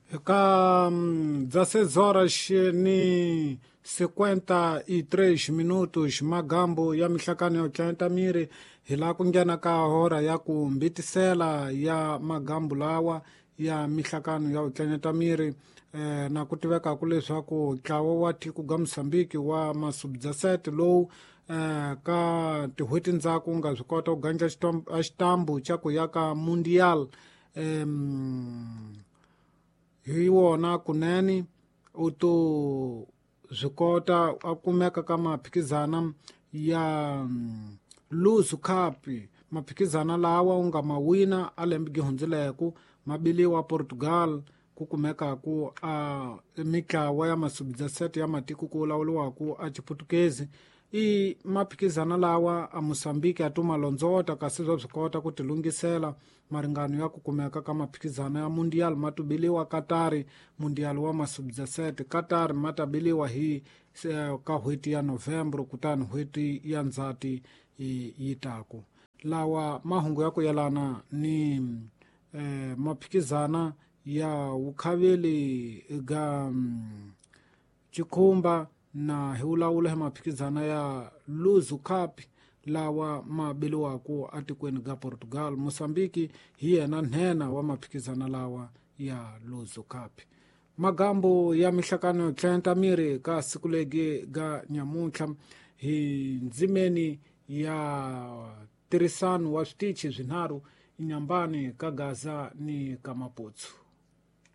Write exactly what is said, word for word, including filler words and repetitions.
Ka dezesseis horas ni cinquenta e três minutos, magambo ya mihlakano ya tlanta miri hi la ku nghena ka hora ya ku mbitisela ya magambo lawa ya mihlakano ya tlanyeta miri eh, na ku tivekaku leswaku ntlawa wa tiko ga Mozambique wa masubdasete lowu eh, ka tin'hweti ndzhaku nga swi kota ku gandla xitambu xa ku ya ka Mundial em, hi wona kunene u to swi kota a kumeka ka maphikizana ya Luzu Cup, maphikizana lawa u nga ma wina a lembe gi hundzileku mabiliwa Portugal ku kumekaku a mitlawa ya masubdasete ya matiko ku lawuliwaku a Chiputukezi. I maphikizana lawa a Mozambique a tuma londzota kasi swa swi kota ku tilungisela maringano ya ku kumeka ka maphikizana ya Mundial matubiliwa Qatar, Mundial wa masubdasete Qatar matabiliwa hi ka n'hweti ya Novembro kutani n'hweti ya Ndzhati yi taku. Lawa mahungu ya ku yelana ni eh, maphikizana ya vukhaveli ga Chikhumba na hi vulavula hi maphikizana ya Luzu Cup lawa mabiliwaku atikweni ga Portugal. Mozambique hi yena nhenha wa maphikizana lawa ya Luzu Cup. Magambo ya mihlakano yo tlenta miri ka siku legi ga nyamuntlha hi ndzimeni ya tirhisano wa switichi swinharhu inyambani ka Gaza ni ka Maputo.